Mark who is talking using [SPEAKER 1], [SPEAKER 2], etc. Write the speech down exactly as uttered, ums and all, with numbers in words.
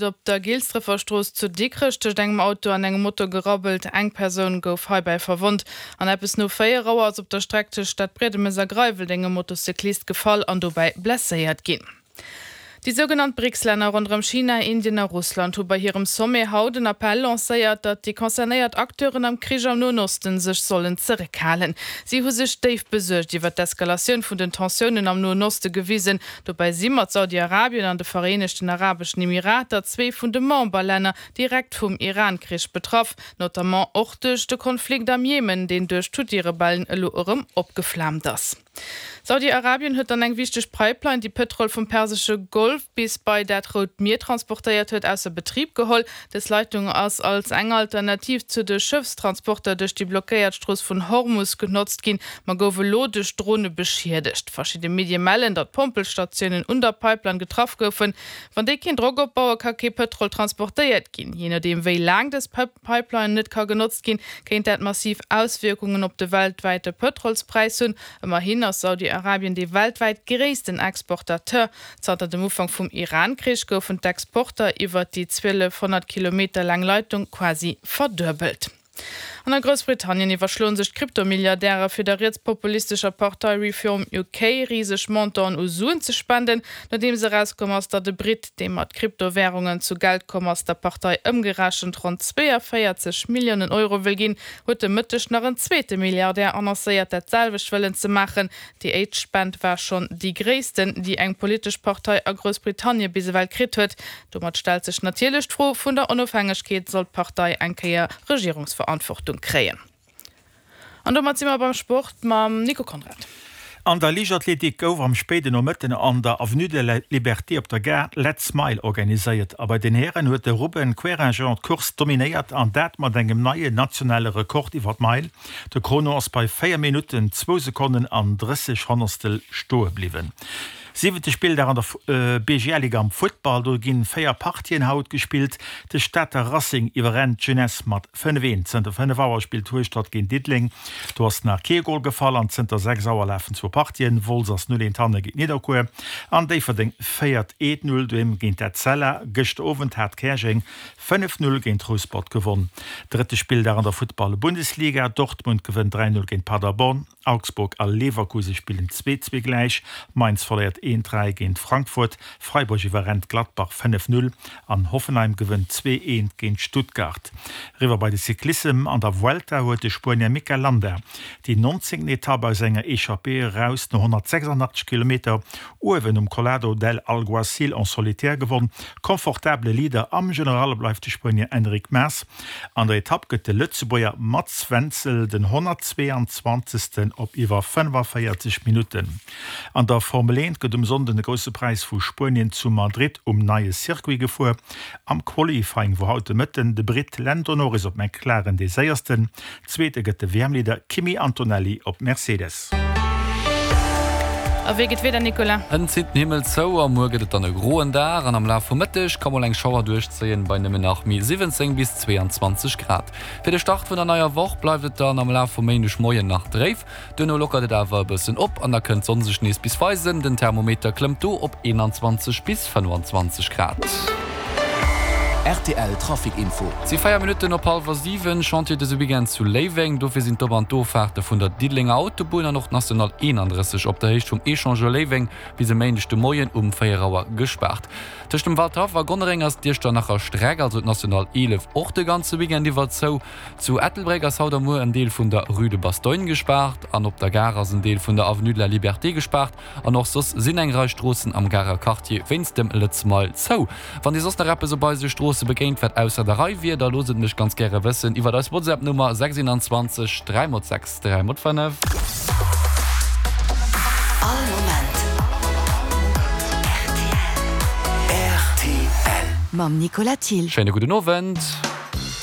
[SPEAKER 1] Op der Gilsdrëffer Strooss zu Dikrech tëscht engem Auto an engem Moto gerabbelt. Eng Persoun gouf heibäi verwonnt. An eppes no véier Auer ass op der Streck tëscht Stadbriedemes a Greiweldeng e Motocyclist gefall an dobäi blesséiert ginn. Déi sougenannt BRICS-Länner ronderëm China, Indien a Russland hu bei hirem Sommet haut en Appell lancéiert, datt déi concernéiert Acteuren am Krich am Noen Osten sech sollen zeréckhalen. Si hu sech déif besuergt iwwer d'Eskalatioun vun den Tensiounen am Noen Oste gewisen. Dobäi si mat Saudi-Arabien an de Vereenegten Arabeschen Emirater zwee vun de Memberlänner direkt vum Iran-Krich betraff, notamment och duerch de Konflikt am Jemen, deen duerch d'Huthi-Rebellen elo erëm opgeflaamt ass. Saudi-Arabien huet dann eng wichteg Pipeline, déi Pëtrol vum persesche Golf bis bei dat Rout Mier transportéiert huet, ausser Betrib geholl. Dës Leitung ass als eng Alternativ zu de Schëffstransporter duerch déi blockéiert Strooss vun Hormus genotzt ginn, ma gouf elo duerch Drone beschiedegt. Verschidde Medie mellen, datt Pompelstatiounen un der Pipeline getraff goufen. Wann déi keen Drock opbauen, ka kee Pëtrol transportéiert ginn. Jee nodeem wéi laang dës Pipeline net ka genotzt ginn, kéint dat massiv Auswierkungen op de weltwäite Pëtrolspräis hunn. Ëmmerhin ass Saudi-Arabien dee weltwäit gréissten Exportateur. Zanter dem Ufank vum Iran-Krich goufen d'Exporter iwwer déi zwielefhonnert Kilometer laang Leitung quasi verduebelt. An a Groussbritannien iwwerschloen sech d'Krypto-Milliardäre fir der rietspopulistescher Partei Reform U K riseg Montanten u Suen ze spenden. Nodeems erauskomm ass, datt e Britt, dee mat Kryptowärungen zu Geld komm ass, der Partei ëmgerechent ronn zweeënvéierzeg Milliounen Euro wëll ginn, huet de Mëtteg nach en zweete Milliardär annoncéiert, dat selwecht wëllen ze maachen. Déi éischt Spend war schonn déi gréissten, déi eng politesch Partei a Groussbritannie bis ewell kritt huet. Domat stellt sech natierlech d'Fro vun der Onofhängegkeet, sollt d'Partei eng Kéier Regierungsverantwortung kréien. An domat si mer beim Sport mam Nico Conrad.
[SPEAKER 2] An der Liichtathletik gouf am spéiden Nomëtten an der Avenue de la Liberté op der Gare d'Letz Mile organiséiert. A bei den Hären huet de Ruben Querinjean d'Course dominéiert an dat mat engem neien nationale Rekord iwwer d'Meil. De Chrono ass bei véier Minutten, zwou Sekonnen an drësseg Honnertstel stoe bliwwen. Siwente Spilldag an der B G L-Liga am Futtball, do ginn véier Partien haut gespillt. De Stater Racing iwwerrennt d'Jeunesse mat fënnef eent. Zënter fënnef Auer spillt Hueschtert géint Diddeleng, do ass nach kee Gol gefall an zënter sechs Auer lafen zwou Partien, Wolz ass null eent hanne géint Nidderkuer an Déifferdeng féiert eent null doheem géint Etzella. Gëschter Owend hat Käerjeng fënnef null géint Rouspert gewonn. Drëtte Spilldag an der Futtball-Bundesliga, Dortmund gewënnt dräi null géint Paderborn. Augsburg a Leverkusen spillen zwee zwee gläich, Mainz verléiert eent dräi géint Frankfurt, Freiburg iwwerrennt Gladbach fënnef null an Hoffenheim gewënnt zwee eent géint Stuttgart. Eriwwer bei de Cyclissem, An der Vuelta huet de Spuenier Mikel Landa déi nonzéngten Etapp aus enger Echappée eraus no honnertsechsandachtzeg Kilometer uewen um Collado del Alguacil en solitaire gewonn. Confortabele Leader am General bleift de Spuenier Enric Mas. An der Etapp gëtt de Lëtzebuerger Mats Wenzel den honnertzweeanzwanzegsten op iwwer fënnefavéierzeg Minutten. An der Formel eent gëtt um Sonnden de Grousse Präis vu Spuenien zu Madrid um neie Circuit gefuer. Am Qualifying wor haut de Mëtten de Britt Lando Norris op McLaren dee Séiersten. Zweete gëtt de W M-Leader Kimi Antonelli op Mercedes.
[SPEAKER 1] A wéi geet d'Wieder, Nicolas?
[SPEAKER 3] Hënt zitt den Himmel zou a muer gëtt et dann e groen Dag an am Laf vum Mëtteg ka mol eng Schauer duerchzéien, bei nëmmen nach méi siwwenzéng bis zweeanzwanzeg Grad. Fir de Start vun der neier Woch bleift et dann am Laf vum Méindegmoien nach dréif, duerno lockert et awer e bëssen op an da kënnt d'Sonn sech nees bis weisen. Den Thermometer klëmmt do op eenanzwanzeg bis fënnefanzwanzeg Grad.
[SPEAKER 4] R T L Trafic Info.
[SPEAKER 3] Et si véier Minutten op hallwer siwen. Chantier dëse Weekend zu Léiweng. Dofir sinn d'Op an d'Offaarte vun der Diddelenger Autobunn an och d'National eenandrësseg op der Héicht vum Echangeur Léiweng bis e Méindeg de Moien um véier Auer gespaart. Tëscht dem Waldhaff a Gonnereng ass d'Iechternacher Streck, also d'National eelef, och de ganze Weekend iwwer zou. Zu Ettelbréck ass haut a muer en Deel vun der Rue de Bastogne gespaart an op der Gare ass en Deel vun der Avenue de la Liberté gespaart an och soss sinn eng Rei Stroossen am Garer Quartier wéinst dem Lëtz Mile zou. Wann Dir soss nach eppes op eise Stroosse begéint, wat ausser der Rei wier, da loosst et mech ganz gäre wëssen iwwert eis WhatsApp-Nummer sechs sechs dräi sechs dräi fënnef.
[SPEAKER 5] All Moment R T L.
[SPEAKER 6] Mam Nicolas Thill.
[SPEAKER 3] Schéine gudden Owend.